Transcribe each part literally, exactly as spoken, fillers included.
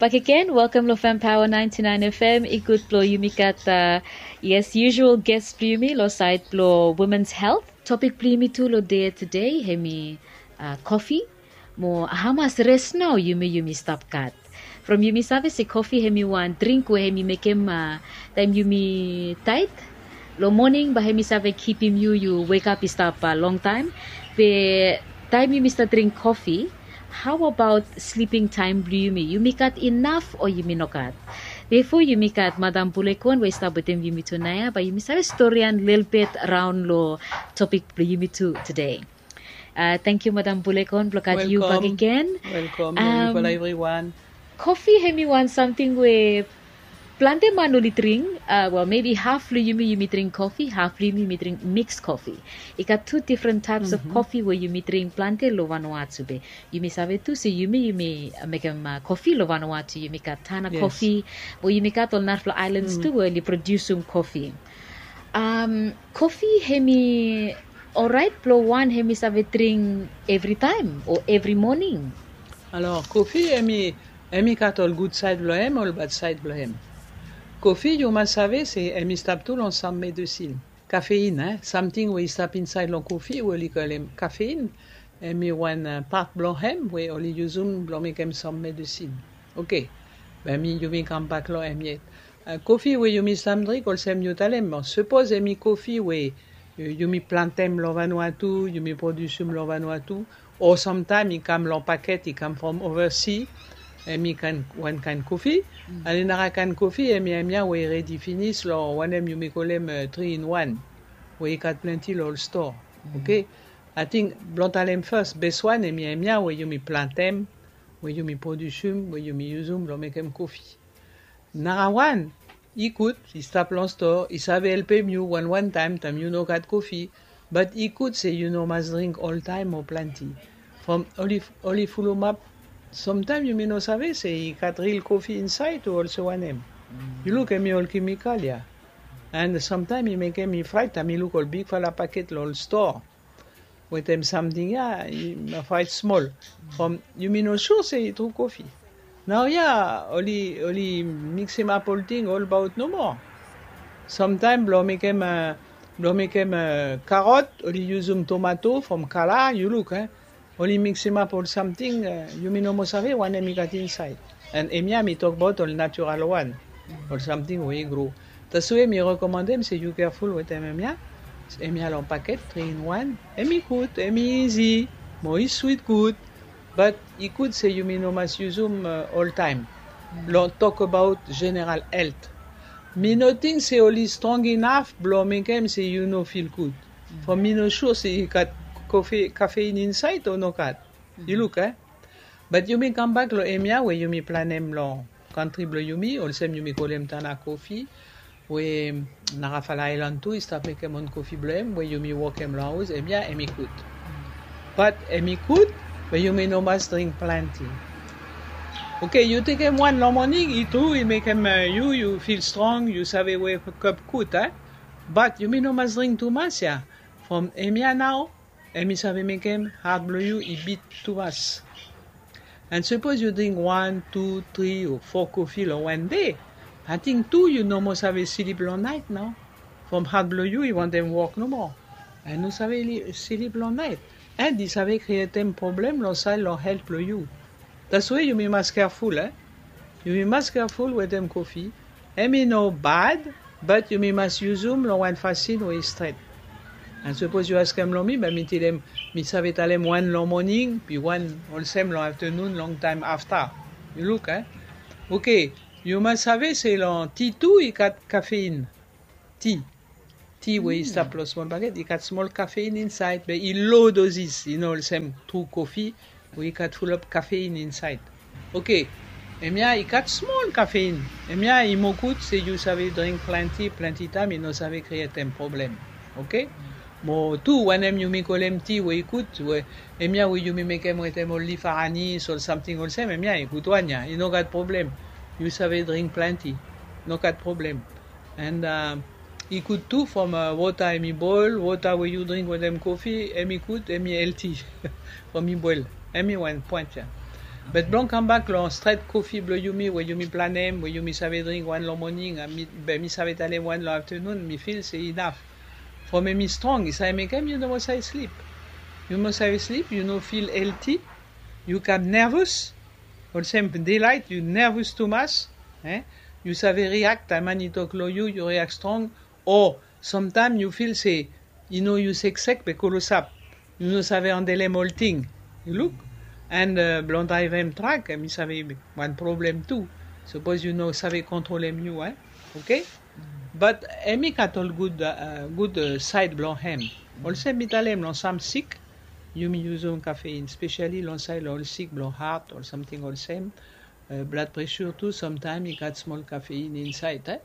Bakegen, welkam long Fem Power ninety nine F M. I gud blong yumi gat, uh, yes, usual guest blong yumi long side blong women's health. Topik blong yumi tu long dei tede hemi, uh, kofi. Mo hamas res nao yumi, yumi stap gat. From yumi save se kofi hemi wan dring we hemi mekem, uh, taem yumi taet long moning, bae hemi save kipim yu, yu wekap i stap, uh, longtaem. Be taem yumi stap dring kofi, how about sleeping time blong yumi? Yumi gat inaf o yumi no gat? Bifo yumi gat Madam Bulekon we i stap wetem yumi tu naoia, bae yumi save storian lelebet raon long topik blong yumi tu tede. Uh, tangkiu Madam Bulekon blong gat yu bakegen. Welkam. Welkam. Um, hello everyone. Kofi hemi wan samting we plante man oli dring, uh, wel, maybe haf long yumi, yumi dring kofi, haf long yumi, yumi dring mix kofi. I gat tu difren taeps of kofi we yumi dring plante long Vanuatu be. Yumi save tu se yumi, yumi, uh, mekem, uh, kofi long Vanuatu, yumi gat Tanna Coffee, mo yumi gat ol narafala aelans tu we oli produsum kofi. Um, kofi hemi oraet blong wan hemi save dring evritaem o evri moning? Alor, kofi hemi, hemi gat ol gud saed blong hem, ol bad saed blong hem. Kofi yu mas save se hemi stap tu long sam medesin. Kafein, eh, samting we i stap insaed long kofi we oli kolem kafein, hemi wan, uh, pat blong hem we oli yusum blong mekem sam medesin. Oke. Be mi, yumi kambak long hem yet. Uh, kofi we yumi stap dring, olsem yu talem, sapos hemi kofi we, uh, yumi plantem long Vanuatu, yumi produsum long Vanuatu, o samtaem i kam long paket, i kam from ovasi, hemi kaen, wan kaen kofi. Alen nara kaen kofi, hemi, hemia we i redi finis long wanem yumi kolem, uh, three in one, we i gat plante long ol stoa. Oke? Ating blong talem fas, bes wan hemi, hemia we yumi plantem, we yumi produsum, we yumi yusum blong mekem kofi. Nara wan, i gud, i stap long stoa, i save helpem yu wan wan taem, taem yu no gat kofi, bad i gud se yu no mas dring oltaem o plante. From oli, oli fulumap, samtaem yumi no save se i gat ril kofi insaed o olsem wanem. Yu luk hemi ol kemikal ya. And samtaem i mekem mi fraet taem mi luk ol bigfala paket long ol stoa wetem samting ya, i, mi fraet smol. From yumi no sua se i tru kofi. Naoia oli, oli miksimap olting olbaot nomo. Samtaem blong mekem, uh, blong mekem, uh, karot, oli yusum tomato from kala, yu luk, eh. Oli miksimap ol samting, uh, yumi no moa save wanem i gat insaed. And hemia mi tokbaot ol natural wan, ol samting we i gro. Taswe mi rekomandem se yu keaful wetem hemia. Hemia long paket, three in one. Hemi gud, hemi izi, mo i swit gud. Bad i gud se yumi no mas yusum, uh, oltaem. Blong tokbaot jeneral helt. Mi no ting se oli strong inaf blong mekem se yu no fil gud. From mi no sua se i gat kofi, kafein insaed o no gat. Yu luk, eh? Bad yumi kambak long hemia we yumi planem long kantri blong yumi, olsem yumi kolem Tanna Coffee, we narafala aelan tu i stap mekem own kofi blong hem, we yumi wokem long haos, hemia hemi gud. Bad hemi gud, be yumi no mas dring plante. Oke, yu tekem wan long moning, i tru, i mekem, uh, yu, yu fil strong, yu save wekap gud, eh? Bad yumi no mas dring tumas ya. From hemia nao, hemi save mekem hat blong yu i bit tumas. And sapos yu dring wan, tu, tri o fo kofi long wan dei, ating tu yu no moa save slip long naet nao. From hat blong yu i wantem wok nomo. And no save li-, slip long naet. And i save krietem problem long saed long helt blong yu. Taswe yumi mas keaful, eh? Yumi mas keaful wetem kofi. Hemi no bad, but yumi mas yusum long wan fasin we i stret. And sapos yu askem long mi, be mi talem, mi save talem wan long moning, be wan olsem long aftenun, longtaem afta. Yu luk, eh? Oke, yu mas save se long ti tu i gat kafein. Ti. Ti we i stap long smol paket, i gat smol kafein insaed, be i low doses, i no olsem tru kofi we i gat fulap kafein insaed. Oke, hemia i gat smol kafein. Hemia i moa gud se yu save dring plante, plante taem i no save krietem problem. Oke? Mo tu wanem yumi kolem ti we i gud, we hemia we yumi mekem wetem ol lif aranis, ol samting olsem, hemia i gud wan ya, i no gat problem. Yu save dring plante, no gat problem. And, uh, i gud tu from, uh, wota hemi boel, wota we yu dring wetem kofi, hemi gud, hemi helti from i boel. Hemi wan poen ya. Be blong kambak long stret kofi blong yumi we yumi planem we yumi save dring wan long moning, be mi save talem wan long aftenun, mi fil se inaf. From em i strong i save mekem yu no moa save slip. Yu moa save slip, yu no fil elti. Yu kam nervus. Olsem delaet yu nervus tumas. Yu save riak taem man i tok long yu, yu riak strong. O samtaem yu fil se i no yu seksek be kolosap. Yu no save andelem olting. Yu luk. And blong draevem trak em i save wan problem tu. Sapos yu no save kontrolem yu, e. Oke. Bat em i gat ol gud gud saed blong hem. Olsem mi talem long sam sik, yumi yuzum kafein spesiali long saed long ol sik blong hat ol samting olsem. Blad presur tu samtaem i gat smol kafein insaed.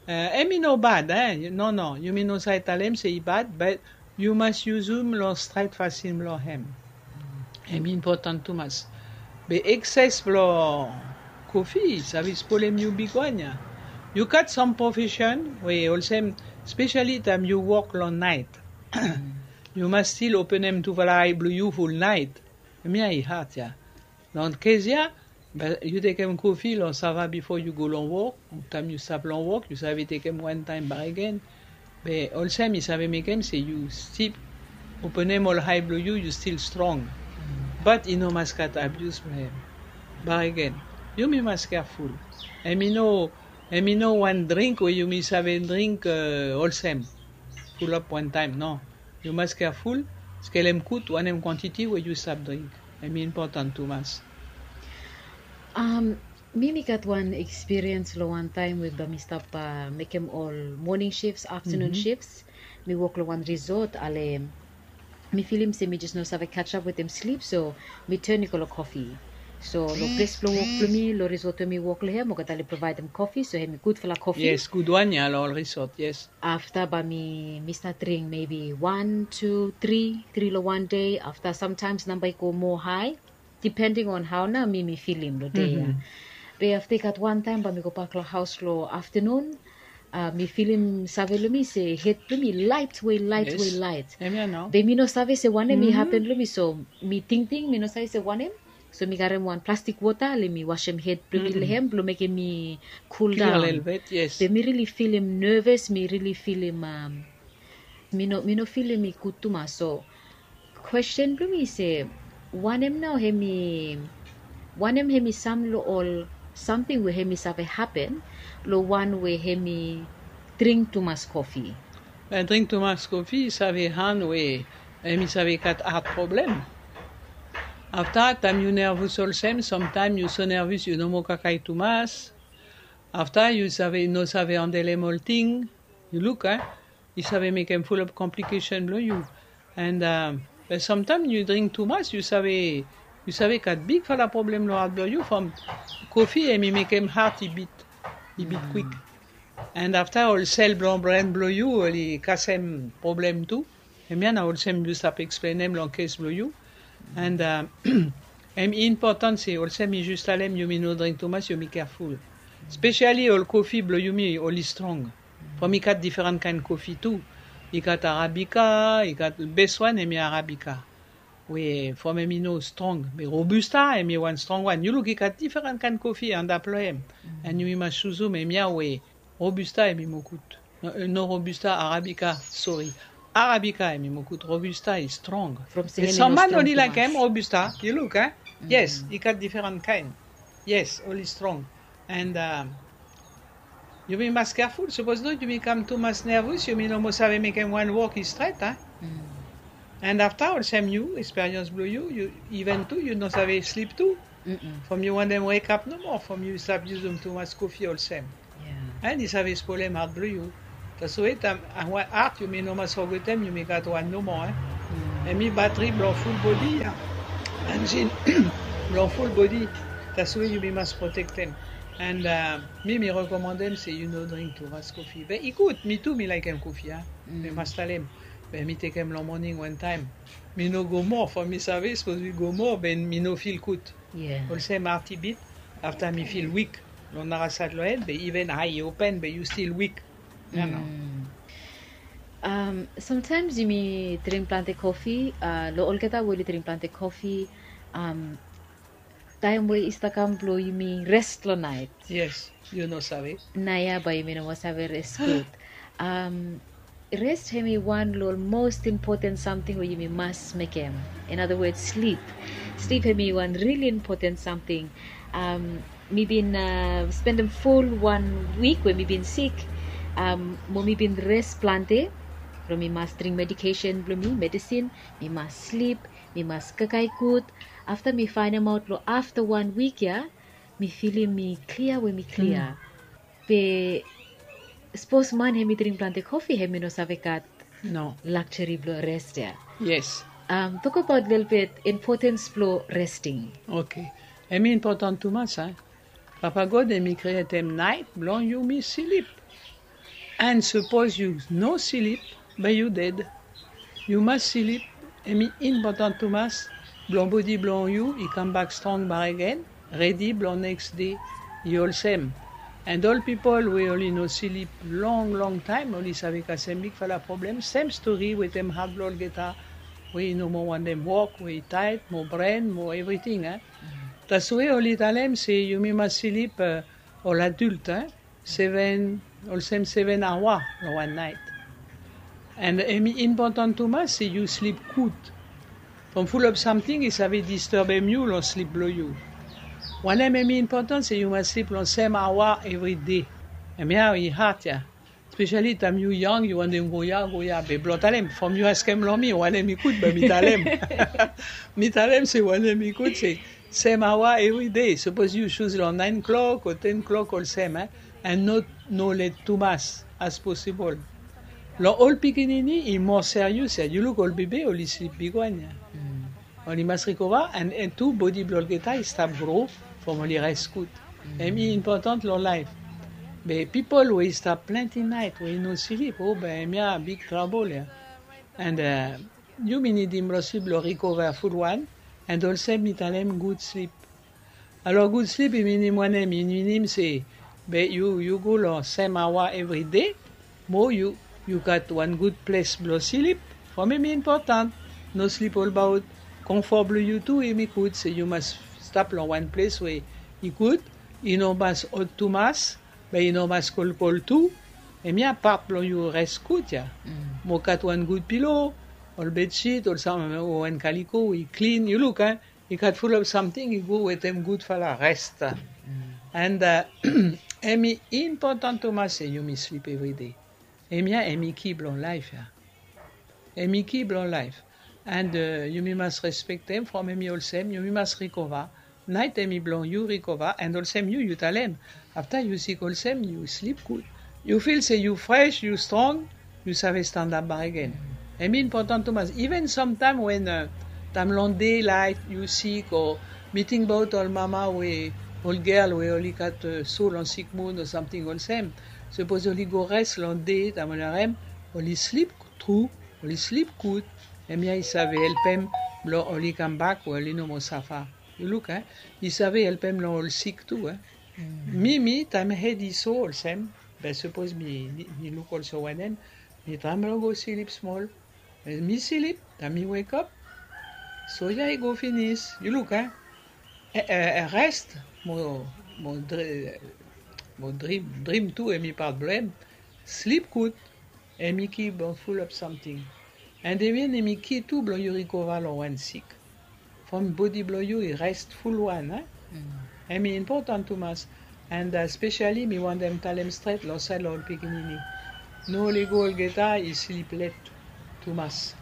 Em i no bad, e. Nono, yumi no save talem se i bad, bat yu mas yuzum long stret fasin blong hem. Em i impotan tumas. Be ekses blong kofi i save spolem yu bigwan ya. Yu gat sam profesen we olsem, spesiali taem yu wok long naet, yu mas stil openem tufala ae blong yu ful naet. Em ya i hat ya. Long kes ya, be yu tekem kofi long sava bifo yu go long wok. Taem yu stap long wok yu save tekem wantaem bakegen. Be olsem i save mekem se yu stil openem ol ae blong yu, yu stil strong. Bat i no mas gat abius blong hem. Bakegen, yumi mas keaful. Em i no em i no wan dring we yumi save dring olsem, fulap wantaem, no. Yu mas keaful. Skelem gud wanem kwantiti we yu stap dring. Em i impotan tumas. Mi mi gat wan ekspiriens long wan taem we bae mi stap mekem ol moning shifs, aftenun shifs. Mi wok long wan risot ale mi filim se mi jes no save kajap wetem slip, so mi ten i go long kofi. So long ples blong wok blong mi long risot we mi wok long hem olgeta oli provaedem kofi, so hem i gudfala kofi. Yes, gudwan ya long ol risot, yes. Afta bae mi mi stat dring mebi wan, tu, tri, tri long wan dei. Afta samtaems namba i go moa hae, dipending on hao nao mi mi filim long dei ya. Be afta i gat wantaem bae mi gobak long haos long aftenun. Mi filim save long mi se hed blong mi laet we laet we laet. Be mi no save se wanem i hapen long mi, so mi tingting mi no save se wanem. So mi karem wan plastik wota le mi wasem hed blong mi long hem blong mekem mi kuldaon. Be mi rili filim neves, mi rili filim mi no mi no filim i gud tumas. So kwesten blong mi se, wanem nao hem i wanem hem i sam long ol samting we hem i save hapen long wan we hem i dring tumas kofi? Dring tumas kofi i save han we hem i save gat hat problem. Afta taem yu nervus olsem, samtaem yu so nervus yu no moa kakae tumas. Afta yu save no save andelem olting. Yu luk a i save mekem fulap komplikesen blong yu. And samtaem yu dring tumas yu save yu save gat bigfala problem long hat blong yu from kofi em i mekem hat i bit i bit kwik. And afta ol sel blong bren blong yu oli kasem problem tu. Em ya na olsem yu stap eksplenem long kes blong yu. And em i impotan se olsem mi jus talem yumi no dring tumas, yumi keaful. Spesiali ol kofi blong yumi oli strong. From i gat diferan kaen kofi tu. I gat arabika, i gat bes wan em i arabika. We from em i no strong be robusta em i wan strong wan. Yu luk i gat diferan kaen kofi antap long em. And yumi mas juzum em ya we robusta em i moa gud. No robusta, arabika. Sori. Arabika em i moa gud, robusta i strong. Sam man oli laekem robusta. Yu luk a yes i gat diferan kaen. Yes oli strong. And yumi mas keaful sapos not yumi kam tumas nervus yumi no moa save mekem wan wok i stret a. And afta olsem yu eksperians blong yu yu iven tu yu no save slip tu. From yu wantem wekap nomo from yu stap yusum tumas kofi olsem. And i save spolem hat blong yu. Taswe taem wan hat yumi no mas fogetem yumi gat wan nomo. Em i batri blong ful bodi ya. Enjin blong ful bodi. Taswe yumi mas protektem. And mi mi rekomandem se yu no dring tumas kofi be i gud mi tu mi laekem kofi a. Mi mas talem be mi tekem long moning wantaem. Mi no go moa from mi save sapos mi go moa be mi no fil gud. Olsem hat i bit. Afta mi fil wik long narasad long hed be iven ae i open be yu stil wik. Samtaems yumi dring plante kofi. Long olgeta we oli dring plante kofi, taem we i stap kam blong yumi res long naet. Yes, yu no save. Naoia bae yumi no moa save res gud. Am, res hemi wan long ol most important samting we yumi mas mekem. In other words, slip. Slip hemi wan rili important samting. Am, mi bin, a, spendem ful wan wik we mi bin sik. Am, mo mi bin res plante. Blong mi mas dring medikesen blong mi, medisin. Mi mas slip, mi mas kakae gud. Afta mi faenemaot long afta wan wik ya, mi filim mi klia we mi klia. Be sapos man hemi dring plante kofi, hemi no save gat, no, lakjeri blong res ya. Yes. Am, tokbaot lelebet impotens blong resting. Oke. Hemi impoten tumas, a? Papa God hemi krietem naet blong yumi slip. An sapos yu no slip, bae yu ded. Yu mas slip, hemi impoten tumas blong bodi blong yu i kambak strong bakegen, redi blong neks dei. I olsem. An ol pipol we oli no slip long long taem, oli save kasem bigfala problem. Sem stori wetem hat blong olgeta we i no moa wantem wok, we i taet, mo bren, mo evriting, a? Taswe oli talem se yumi mas slip, a, ol adult, a? Seven, olsem seven aoa long wan naet. An hemi impoten tumas se yu slip gud. From fulap samting i save disturbem yu long slip blong yu. Wanem hemi impoten se yu mas slip long sem aoa evri dei. Hemia i hat ya. Spesiali taem yu yang, yu wantem go ya, go ya, be blong talem, from yu askem long mi wanem i gud, be mi talem. Mi talem se wanem i gud se sem aoa evri dei. Sapos yu sus long naen klok o ten klok olsem, a? An no, no let tumas as posibol. Long ol pikinini i moa serious ya. Yu luk ol bebe oli slip bigwan ya. Oli mas rikova, an, an tu bodi blong olgeta i stap gro from oli res gud. Hemi impoten long laef. Be pipol we i stap plante naet we i no slip, o, be hemia big trabol ya. An, a, yumi nidim blong slip blong rikova fulwan, an olsem mi talem gud slip. Alor gud slip i minim wanem? I minim se be yu, yu go long sem aoa evri dei, mo yu, yu gat wan gud ples blong slip. From hemi impoten. No slip olbaot. Konfo blong yu tu hemi gud, se yu mas stap long wan ples we i gud, i no mas hot tumas, be i no mas kolkol tu. Hemia pat blong yu res gud ya. Mo gat wan gud pilo, ol bedsit, ol sam, o wan kaliko we i klin. Yu luk, a? I gat fulap samting i go wetem gudfala res. An, a, hemi impoten tumas se yumi slip evri dei. Hemia hemi ki blong laef ya. Hemi ki blong laef. An, a, yumi mas respektem from hemi olsem, yumi mas rikova. Naet hemi blong yu rikova, an olsem yu, yu talem. Afta yu sik olsem, yu slip gud. Yu fil se yu fres, yu strong, yu save stanap bakegen. Hemi impoten tumas. Even samtaem wen, a, taem long dei laet yu sik, o mi tingbaot ol mama we, ol gel we oli gat, a, so long sikmun o samting olsem. Sapos oli go res long dei, taem oli harem, oli slip tru, oli slip gud, hemia i save helpem blong oli kambak we oli no moa safa. Yu luk, a? I save helpem long ol sik tu, a? Mi, mi, taem hed i so olsem, be sapos mi, mi, mi luk olsem wanem, mi traem blong go slip smol. Be mi slip, taem mi wekap, soya i go finis. Yu luk, a? E, e, e res, mo, mo dri-, mo drim, drim tu, hemi pat blong hem. Slip gud. Hemi ki blong fulap samting. An hemi, hemi ki tu blong yu rikova long wan sik. From bodi blong yu i res fulwan, a? Hemi impoten tumas. An, a, spesiali mi wantem talem stret long saed long ol pikinini. No lego olgeta i slip let tumas.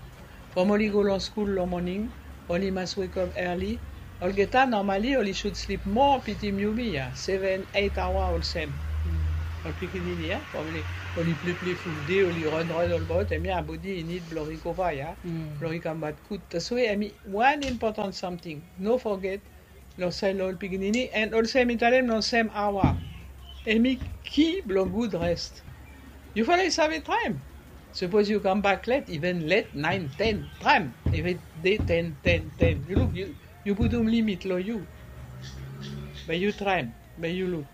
From oli go long skul long moning, oli mas wekap early. Olgeta, normali, oli sud slip moa pitim yumi ya, seven, eight aoa olsem. Ol pikinini ya, from oli, oli pleple ful dei, oli ranran olbaot, hemia bodi i nid blong rikova ya, blong i kambak gud. Taswe hemi wan impoten samting. No foget, long saed long ol pikinini, an olsem mi talem long sem aoa. Hemi ki blong gud res. Yu fala i save traem. Sapos yu kambak let, even let, naen, ten, traem. Evri dei ten, ten, ten. Yu luk, yu, yu putum limit long yu. Be yu traem, be yu luk.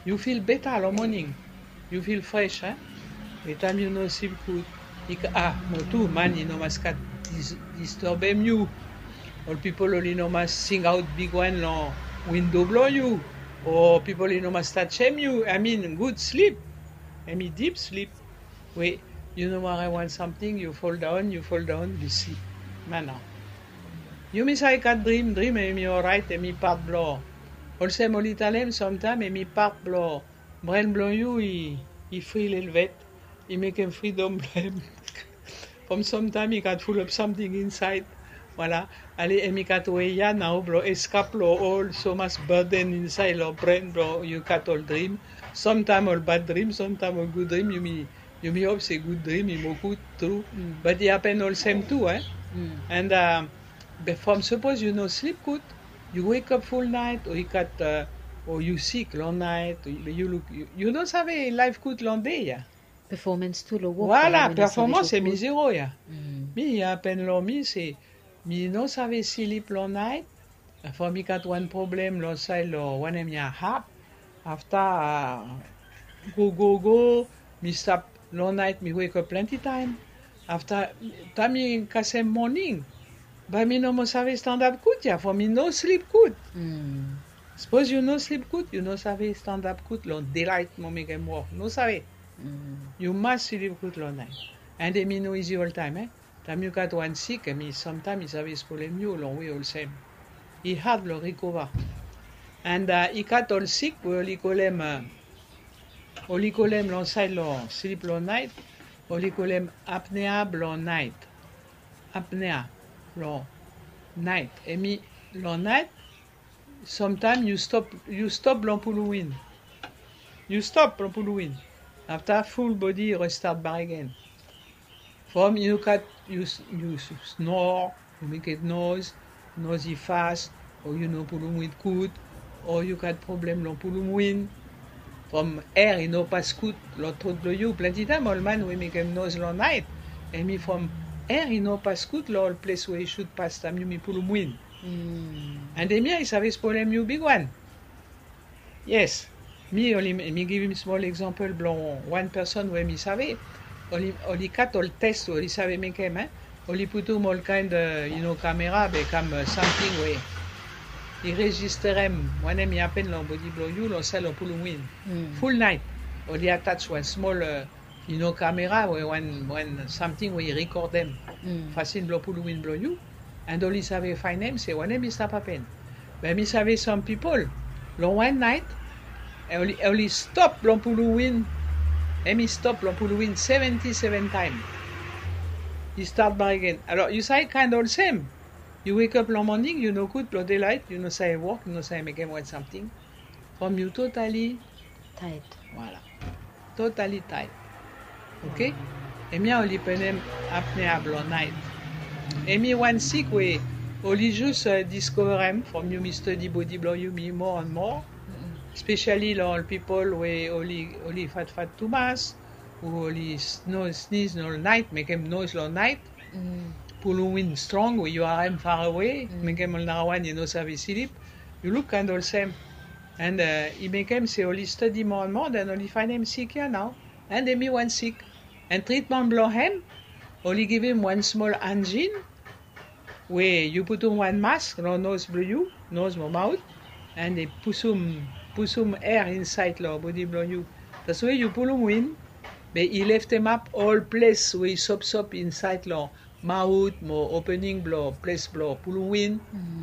Yu fil beta long moning. Yu fil fres, a? Be taem yu no slip gud, i ka-, a, mo tu, man i no mas gat dis-, disturbem yu. Ol pipol oli no mas singaot bigwan long windo blong yu, o pipol oli no mas tajem yu. I mean, gud slip. Hemi dip slip we yu no ware wan samting, yu foldaon, yu foldaon, yu slip. Mana. Yumi save gat drim, drim hemi oraet, hemi pat blong. Olsem oli talem samtaem hemi pat blong bren blong yu i, i fri lelvet, i mekem fridom blong hem. From samtaem i gat fulap samting insaed. Voilà. Ale, hemi gat wei ya nao blong eskap long ol so mas burden insaed long bren blong yu gat ol drim. Samtaem ol bad drim, samtaem ol gud drim, yumi, yumi hop se gud drim i moa gud tru. But i hapen olsem tu, eh? And, uh, be from sapos yu no slip gud, yu wekap fulnaet, o i gat, uh, o yu sik long naet, o yu luk, yu, yu no save laef gud long dei ya. Performance tu long wok. Voilà, performance hemi zero ya. Mi i hapen long mi se mi no save slip long naet. From mi gat wan problem long saed long wanem ya, hap. Afta, uh, go, go, go, mi stap long naet, mi wekap plante taem. Afta, taem mi kasem moning, bae mi no moa save standap gud ya, from mi no slip gud. Sapos yu no slip gud, yu no save standap gud long delaet mo mekem wok. No save. Yu mas slip gud long naet. And hemi no izi oltaem, eh? Taem yu gat wan sik, hemi samtaem i save spolem yu long wei olsem. I had blong rikova. And, uh, i gat ol sik we oli kolem, uh, oli kolem long saed long slip long naet, oli kolem apnea blong naet. Apnea blong naet. Hemi long naet, samtaem yu stop, yu stop blong pulum win. Yu stop blong pulum win. Afta ful bodi i restat bakegen. From yu gat, yu, yu snore, yu mekem noz, noz i fas, o yu no pulum win gud, o yu gat problem long pulum win. From air i no pas gud long tot blong yu. Plante taem ol man we mekem noz long naet, hemi from air i no pas gud long ol ples we i sud pas taem yumi pulum win. And hemia i save spolem yu bigwan. Yes. Mi oli, mi givim smol eksampol blong wan person we mi save. Oli, oli gat ol tes we oli save mekem, eh? Oli putum ol kaen, uh, yu no, kamera, be kam, uh, samting we i rejisterem wanem i hapen long bodi blong yu long saed long pulum win. Ful naet. Oli ataj wan smol, uh, yu no, kamera we wan, wan samting we i rekordem fasin blong pulum win blong yu. And oli save faenem se wanem i stap hapen. Be mi save sam pipol long wan naet, oli, oli stop blong pulum win. Hemi stop blong pulum win seventi seven taem. I stat bakegen. Alor yu save kaen olsem. Yu wekap long moning, yu no gud blong delaet, yu no save wok, yu no save mekem wan samting. From yu totali taet. Voilà. Totally tight. Oke? Hemia oli penem apnea blong naet. Hemi wan sik we oli jus, uh, diskoverem from yumi stadi bodi blong yumi moa and moa. Spesiali long ol pipol we oli, oli fatfat tumas, o oli sniz long naet, mekem noes long naet. Pulum win strong we yu harem farewe, mekem ol narawan i no save slip. Yu luk kaen olsem. And, uh, i mekem se oli stadi moa and moa, den oli faenem sik ya nao. And hemi wan sik. And tritman blong hem, oli givim wan smol anjin we yu putum wan mask long noz blong yu, noz mo maot, and i pusum, pusum air insaed long bodi blong yu. Taswe yu pulum win, be i leftemap ol ples we i sopsop insaed long maot mo opening blong ples blong pulum win,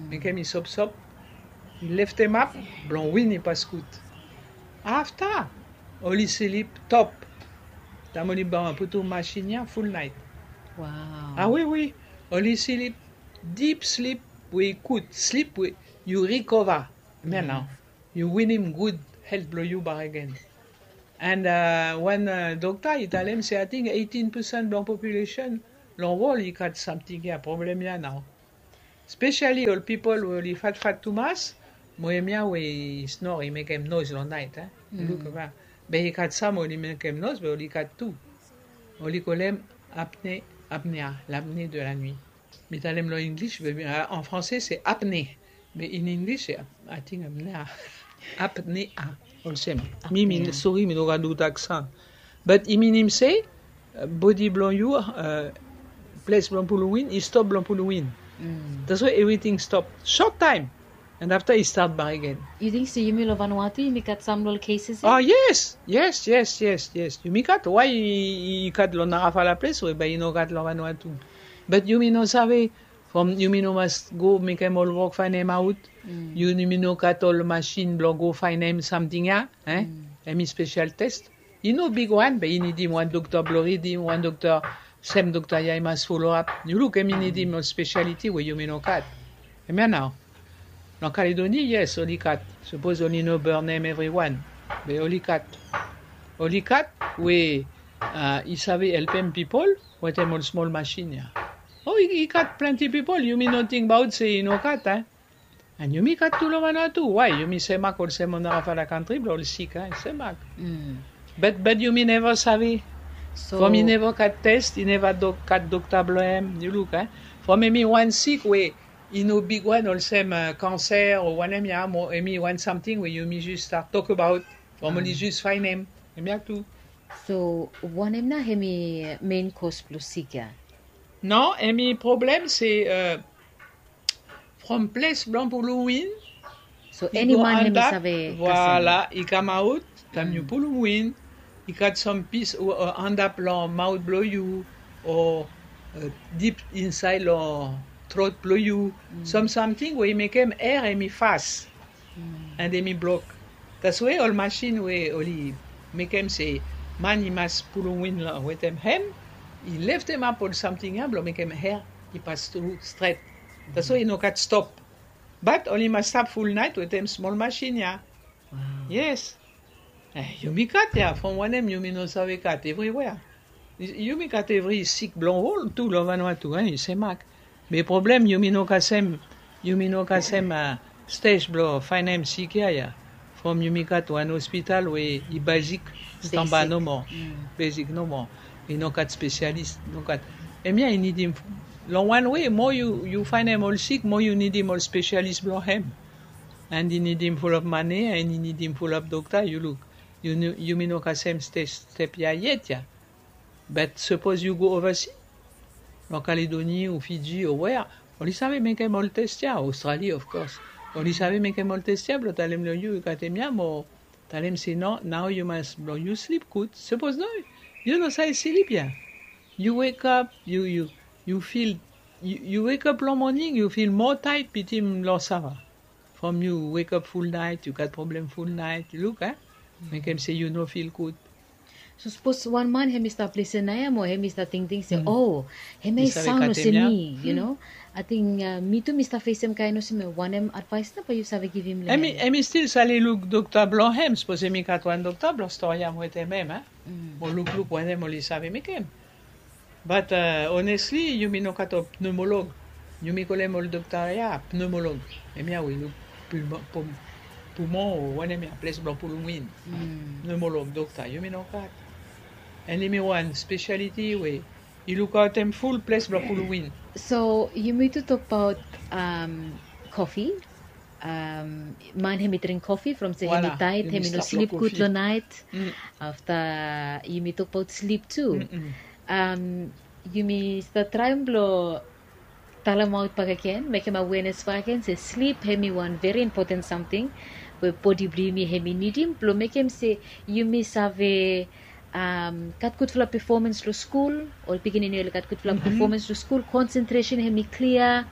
mekem i sopsop, i leftemap blong win i pas gud. Afta oli slip top. Taem oli putum masin ya, ful naet. Wow. Ah, wi, wi. Oli slip dip slip we i gud, slip we yu rikova. Hemia nao yu winim gud helt blong yu bakegen. And, uh, wan, uh, dokta i talem se ating eighteen percent blong population long wol i gat samting ya, problem ya nao. Spesiali ol pipol we oli fatfat tumas, mo hemia we i snor, i mekem noes long naet, eh? Luk, be i gat sam oli mekem noes, be oli gat tu. Oli kolem apne, apnea, l'apnée de la nuit. Mi talem long English, be, uh, en français se apnée. Be in English se ap-, ating apnea. Apnea. Olsem. Mi, mi, sori, mi no gat gud aksan. But i minim se, uh, bodi blong yu, uh, ples blong pulum win i stop blong pulum win. That's why everything stop short time. And after i start back again. Yu ting se yumi long Vanuatu yumi gat sam long ol cases ya? Oh yes, yes, yes, yes, yes. Yumi gat, why i gat long narafala ples we bae i no gat long Vanuatu? But yumi no save. From yumi no mas go mekem ol wok faenem aut. Yumi no gat ol masin blong go faenem samting ya. Hemi special test. I no bigwan be i nidim wan dokta blong ridim, wan dokta, sem dokta ya i mas follow up. Yu luk, hemi nidim ol speciality we yumi no gat. Hemia nao. Long Caledoni, yes, oli gat. Sapos oli no burnem evriwan, be oli gat. Oli gat we i save helpem pipol wetem ol smol masin ya. O, i gat plante pipol yumi no tingbaot se i no gat. And yumi gat tu long Vanuatu. Why? Yumi semak olsem ol narafala kantri blong ol sik, i semak. But yumi neva save. From i neva gat test, i neva gat dokta blong hem. Yu luk, from hemi wan sik we i no bigwan olsem kanser o wanem ya, mo hemi wan samting we yumi jus start tokbaot. From oli jus faenem. Hemia tu. So wanem nao hemi mein kos blong sik ya? No, hemi problem se from ples blong pulum win. So eni man hemi save kasem. Voila, i kamaot taem yu pulum win. I gat sam pis antap long maot blong yu o dip insaed long trot blong yu. Sam samting we i mekem er hemi fas and hemi blok. That's why ol masin we oli mekem se man i mas pulum win wetem hem, i leftemap ol samting ya blong mekem er i pas tru stret. That's why i no gat stop. Bat oli mas stap fulnaet wetem smol masin ya. Yes. Yumi gat ya, from wanem yumi no save gat evriwea? Yumi gat evri sik blong ol tu long Vanuatu, i semak. Be problem yumi no kasem, yumi no kasem stej blong faenem sik ya ya. From yumi gat wan ospital we i besik, stamba nomo. Besik nomo. I no gat spesialis, no gat. Hemia i nidim, long wan wei mo yu faenem ol sik mo yu nidim ol spesialis blong hem. And i nidim fulap mane and i nidim fulap dokta. Yu luk, yumi no kasem step ya yet ya. Bat sapos yu go ovasi long Caledoni o Fiji o wea, oli save mekem ol test ya. Australia of course oli save mekem ol test ya blong talem long yu i gat hemia mo talem se no, nao yu mas blong yu slip gud. Sapos no, yu no save slip ya. Yu wekap, yu yu yu fil, yu wekap long moning yu fil moa taet bitim long sava. From yu wekap fulnaet yu gat problem fulnaet, yu luk a, mekem se yu no fil gud. So sapos wan man hem i stap lisen nao ya mo hem i stap tingting se o, hem ya i saon olsem mi, yu no? Ating mi tu mi stap fesem kaen olsem ya. Wanem advaes nao bae yu save givim long hem? Hem i stil save luk dokta blong hem sapos hem i gat wan dokta blong storiam wetem hem a, mo lukluk wanem oli save mekem. Bat onesli yumi no gat ol pnemolog. Yumi kolem ol dokta ya pnemolog. Hemia we i luk pulmon o wanem ya, ples blong pulum win. Pnemolog dokta yumi no gat. And hemi wan spesialiti we i lukaotem ful ples blong pulum win. So yumi tu tokbaot kofi. Man hem i dring kofi from se hem i taet, hem i no slip gud long naet. Afta yumi tokbaot slip tu. Yumi stap traem blong talemaot bakegen, mekem awenes bakegen se slip hem i wan veri impoten samting we bodi blong yumi hem i nidim blong mekem se yumi save gat gudfala pefomans long skul. Ol pikinini oli gat gudfala pefomans long skul, konsentresen hem i klia.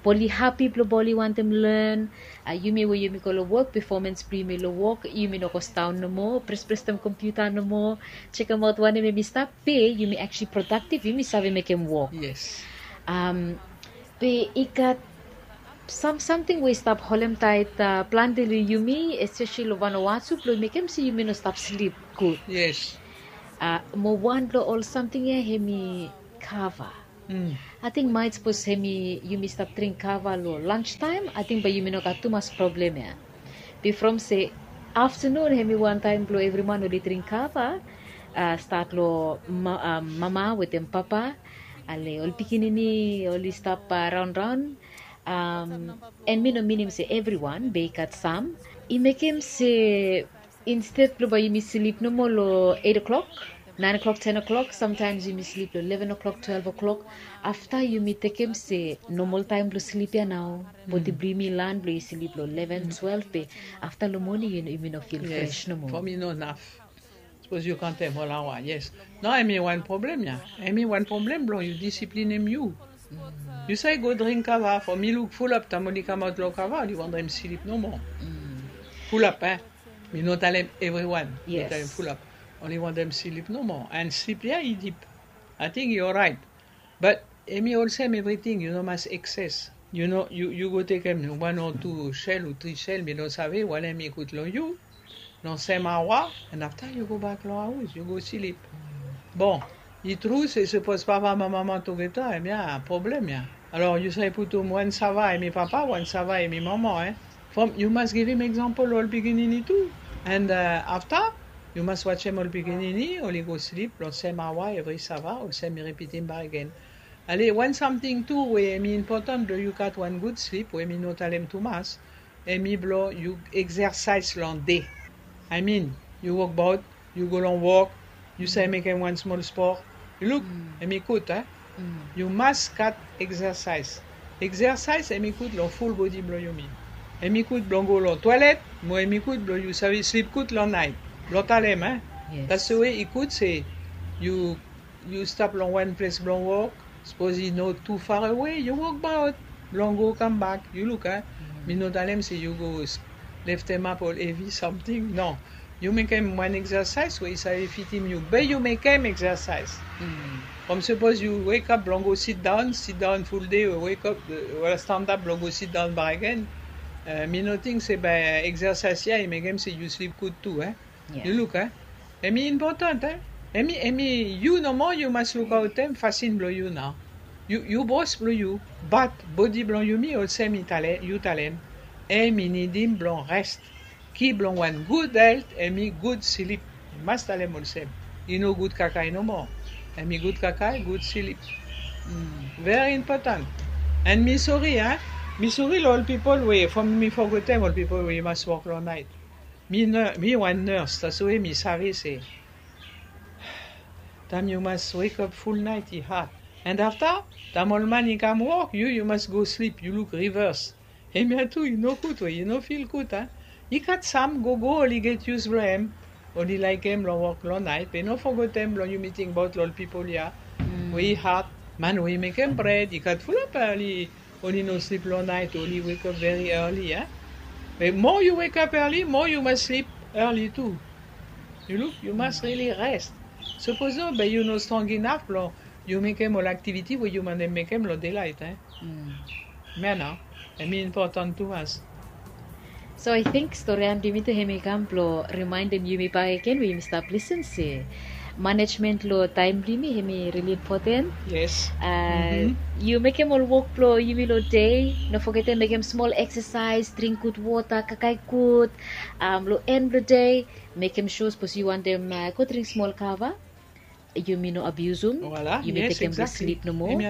Bae oli hapi blong bae oli wantem len. Yumi we yumi go long wok, pefomans blong yumi long wok, yumi no go sidaon nomo, presprestem kompiuta nomo, sekemaot wanem hem i stap. Be yumi aktuali prodaktiv, yumi save mekem wok. Be i gat sam samting we i stap holemtaet plante long yumi, espeseli long Vanuatu, blong mekem se yumi no stap slip gud. Mo wan blong ol samting ya hem i kava. Ating maet sapos hem i yumi stap dring kava long lanstaem, ating bae yumi no gat tumas problem ya. Be from se aftanun hem i wan taem blong evri man oli dring kava, stat long mama wetem papa, ale ol pikinini oli stap raonraon. An mi no minim se evriwan, be i gat sam i mekem se insted blong bae yumi slip nomo long eit o'klok, Naen o'klok, ten o'klok, samtaem yumi slip long leven o'klok, twelve o'klok. Afta yumi tekem se nomol taem blong slip ya nao. Bodi blong yumi lan blong yu slip long leven, twelve, be afta long moning yumi no fil fres nomo. Fo mi no naf. Sapos yu kaontem ol aoa, yes. No, hemi wan problem ya. Hemi wan problem blong yu disiplinem yu. Yu save go dring kava, fo mi luk fulap taem oli kamaot long kava oli wantem slip nomo. Fulap, eh? Mi no talem evriwan. Mi talem fulap. Oli wantem slip nomo. And slip ya i dip. Ating i oraet. But hemi olsem evriting, yu no mas ekses. Yu no, yu, yu go tekem wan o tu sel o tri sel, mi no save, wale hemi gud long yu. Long sem aoa, and afta yu gobak long haos, yu go slip. Bon, i tru se sapos papa mo mama tugeta, hemia problem ya. Alor yu save putum wan sava hemi papa, wan sava hemi mama, eh. From, yu mas givim eksampol ol pikinini tu. And, eh, afta, yu mas wajem ol pikinini, oli go slip long sem aoa evri sava, olsem mi ripitim bakegen. Ale, wan samting tu we hemi impotan blong yu gat wan gud slip, we mi no talem tumas, hemi blong yu eksersaes long de. I mean, yu wokbaot, yu go long wok, yu save mekem wan smol spor. Yu luk, hemi gud, eh? Yu mas gat eksersaes. Eksersaes hemi gud long ful bodi blong yumi. Hemi gud blong go long toelet, mo hemi gud blong yu save slip gud long naet. Blong talem, eh? That's the way i gud se yu, yu stap long wan ples blong wok, sapos i no tu farewe, yu wokbaot blong go kambak. Yu luk, eh? Mi no talem se yu go s-, leftemap ol evi samting, no. Yu mekem wan eksersaes we i save fitim yu, be yu mekem eksersaes. From sapos yu wekap blong go sidaon, sidaon ful de, wekap, eh, wala standap blong go sidaon bakegen. Eh, mi no ting se be eksersaes ya i mekem se yu slip gud tu, eh? Yu luk, eh? Hemi impotan, eh? Hemi, hemi yu nomo yu mas lukaotem fasin blong yu nao. Yu, yu bos blong yu, bat bodi blong yumi olsem i tale, yu talem. Hemi nidim blong res. Ki blong wan gud helt hemi gud slip. I mas talem olsem. I no gud kakae nomo. Hemi gud kakae, gud slip. Very impotan. And mi sori, eh? Mi sori long ol pipol we, from mi fogetem ol pipol we i mas wok long naet. Mi ne-, mi wan nurse, that's why mi save se taem yu mas wekap ful naet i had. And afta, taem ol man i kam wok, yu, yu mas go slip, yu luk reverse. Hemia tu i no gud we, i no fil gud, a? I gat sam gogo oli get yus blong hem, oli laekem blong wok long naet, be no fogetem blong yumi tingbaot long ol pipol ya we i had, man we i mekem bred, i gat fulap oli, oli no slip long naet, oli wekap very early, a? Be mo yu wekap early, mo yu mas slip early tu. Yu luk, yu mas really rest. Sapos no, be yu no strong inaf blong yu mekem ol aktiviti we yu wantem mekem long delaet, eh? Hemia nao, hemi impotan tumas. So I think stori ya blong yumi tu hemi kam blong rimaendem yumi bakegen we yumi stap lisin se manejmen long taem blong yumi hemi really impoten. Yes. A, yu mekem ol wok blong yumi long dei, no fogetem mekem smol eksasaes, dring gud wota, kakae gud, am, long en blong dei, mekem sua sapos yu wantem, a, go dring smol kava, yumi no abiusum, yumi tekem blong slip nomo.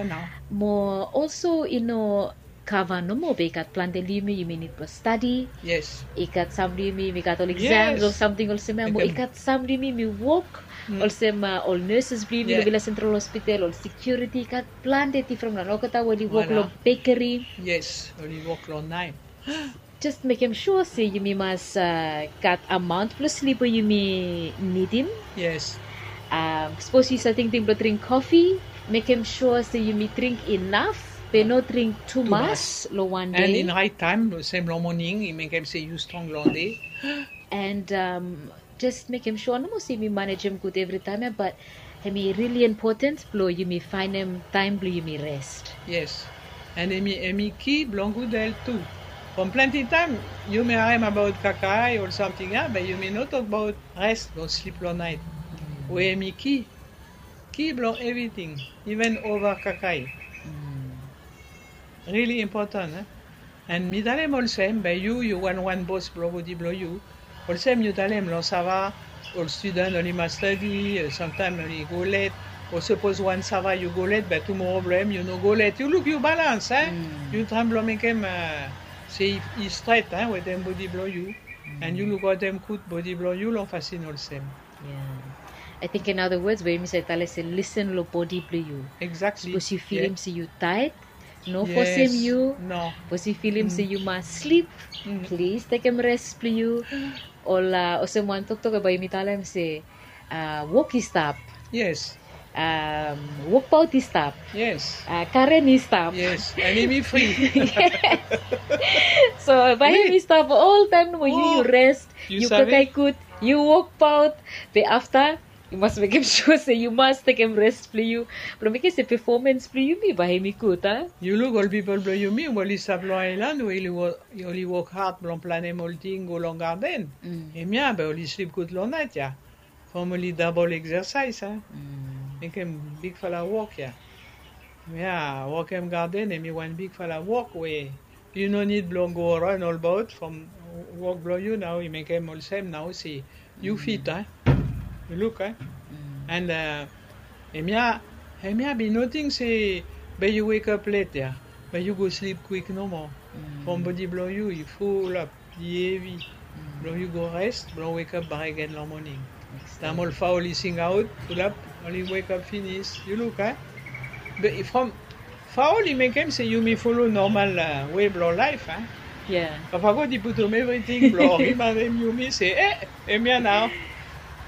Mo also i no kava nomo, be i gat plante long yumi, yumi nid blong stadi. Yes. I gat sam blong yumi, yumi gat ol eksam o samting olsem ya, mo i gat sam blong yumi, yumi wok olsem, a, ol nurses blong yumi long Vila Central Hospital, ol security, i gat plante difren wan. Olgeta we oli wok long bekeri. Yes, oli wok long naet. Just mekem sua se yumi mas, a, gat amaon blong slip we yumi nidim. Yes. Am, sapos yu save tingting blong dring kofi, mekem sua se yumi dring inaf, be no dring tumas long wan dei. And in raet taem, olsem long moning, i mekem se yu strong long dei. And, am, just mekem sua nomo se yumi manejem gud evritaem ya, bat hemi really impoten blong yumi faenem taem blong yumi rest. Yes. And hemi, hemi ki blong gud helt tu. From plante taem yumi harem abaot kakae o samting ya, be yumi no tokbaot rest o slip long naet. We hemi ki, ki blong evriting, iven ova kakae. Really impotan, eh? And mi talem olsem, be yu, yu wan, wan bos blong bodi blong yu. Olsem yu talem long sava, ol studan oli mas stadi, e, samtaem oli go let. O sapos wan sava yu go let, be tumoro blong hem yu no go let. Yu luk, yu balans, eh? Yu traem blong mekem, e, se i, i stret, eh, wetem bodi blong yu. And yu lukaotem gud bodi blong yu long fasin olsem. Ya. I think in other words, we yumi save talem se listen long bodi blong yu. Exactly. Sapos yu filim se yu taet, no fosem yu. No. Sapos yu filim se yu mas slip, plis tekem res blong yu. Ol olsem wan toktok we bae yumi talem se wok i stap. Yes. Wokbaot i stap. Yes. Karen i stap. Yes. And yumi fri. So bae yumi stap oltaem nomo, yu yu res, yu kakae gud, yu wokbaot. Be afta yu mas mekem sua se yu mas tekem res blong yu, blong mekem se pefomans blong yumi bae yumi gud, a? Yu luk ol pipol blong yumi we oli stap long aelan we oli wok had blong planem ol ting go long gaden. Hemia be oli slip gud long naet ya. From oli dabol eksasaes, a? Mekem bigfala wok ya. Hemia wokem gaden hemi wan bigfala wok we yu no nid blong go ran olbaot from wok blong yu nao i mekem olsem nao se yu fit, a? Yu luk, a? And hemia, hemia be i no ting se be yu wekap let ya, be yu go slip kwik nomo. From bodi blong yu i fulap, i hevi. Blong yu go res blong wekap bakegen long moning. Taem ol faol i singaot, fulap oli wekap finis. Yu luk, a? Be from faol i mekem se yumi folo nomal we blong laef, a? Papa God i putum evriting blong rimaindem yumi se e, hemia nao.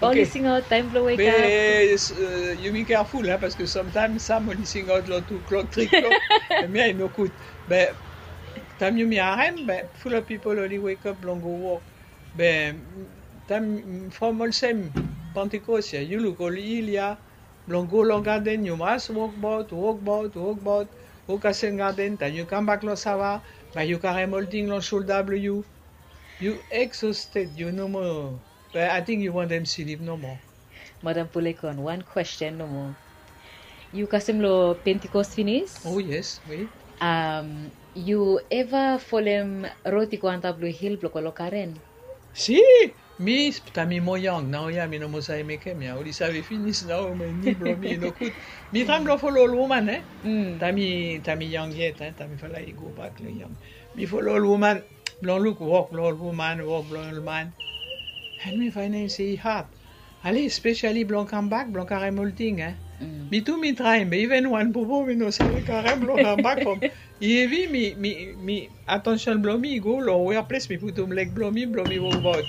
Oli singaot taem blong wekap. Be yumi keaful, a, paske samtaem sam oli singaot long tu klok, tri klok. Hemia i no gud. Be taem yumi harem be fulap pipol oli wekap blong go wok. Be taem from olsem Pentekos ya, yu luk ol il ya, blong go long gaden yu mas wokbaot, wokbaot, wokbaot. Go kasem gaden, taem yu kambak long sava, bae yu karem ol ting long solda blong yu. Yu eksosted, yu no moa, be ating yu wantem slip nomo. Madam Pulekon, wan kwesten nomo. Yu kasem long Pentekos finis? O yes, we. Yu eva folem rod i go antap long hil blong go long karen? Si, mi taem mi moa yong naoia mi no moa save mekem ya. Oli save finis nao, mi ni blong mi i no gud. Mi traem blong folo ol woman, e? Taem mi, taem mi yong yet, e, taem mifala i gobak long yong, mi folo ol woman blong luk wok blong ol woman, wok blong ol man. And mi faenem se i had. Ale spesiali blong kambak blong karem ol ting, e. Mi tu mi traem, be iven wan popo mi no save karem blong kambak from i hevi. Mi, mi, mi atension blong mi i go long wea ples mi putum leg blong mi blong mi wokbaot.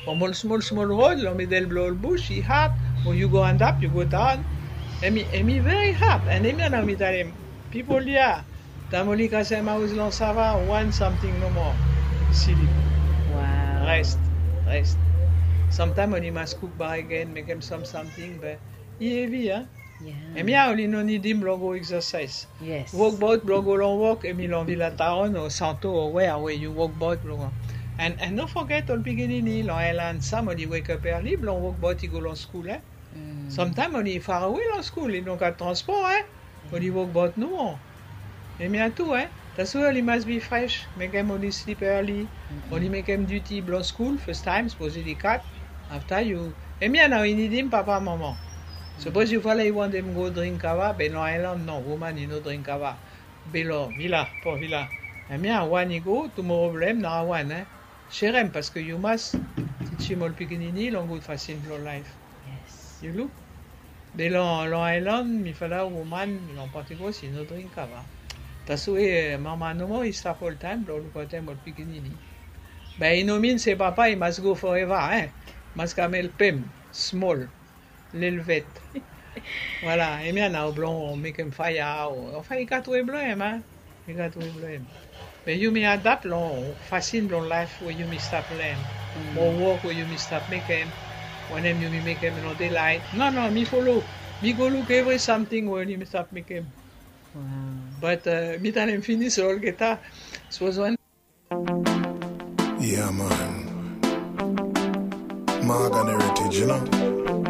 From ol smol smol rod long midel blong ol bus i had. Mo yu go antap, yu go daon. Hemi, hemi veri had. And hemia nao mi talem pipol ya, taem oli kasem haos long sava, wan samting nomo. Slip. Res, res. Samtaem oli mas kuk bakegen, mekem sam samting, be i hevi, a? Hemia oli no nidim blong go eksasaes. Wokbaot blong go long wok, hemi long Vila Taon o Santo o wea we yu wokbaot blong go. And, and no foget ol pikinini long aelan, sam oli wekap eali blong wokbaot i go long skul, e? Samtaem oli farawe long skul, i no gat transpor, e? Oli wokbaot nomo. Hemia tu, e? Taswe oli mas bi fres, mekem oli slip eali, oli mekem duti blong skul fastaem, sapos oli kat. Afta yu, hemia nao i nidim papa, mama. Sapos yufala i wantem go dring kava, be long aelan no, woman i no dring kava. Be long vila, Port Vila, hemia wan i go, tumoro blong hem nara wan, e? Serem, paske yu mas tijim ol pikinini long gud fasin blong laef. Yu luk? Be long, long aelan, mifala woman long Pentekos i no dring kava. Taswe mama nomo i stap oltaem blong lukaotem ol pikinini. Be i no min se papa i mas go foreva, e? Mas kam helpem smol. Lelvet. Voilà, hemia nao blong mekem faea o, anfen i gat we blong hem, a? I gat we blong hem. Be yumi adap long fasin blong laef we yumi stap len. Mo wok we yumi stap mekem. Wanem yumi mekem long delaet. No, no, mi folo. Mi go luk evri samting we yumi stap mekem. Bat mi talem finis long olgeta. Sapos wan Yeah, man. Magan Heritage, you know.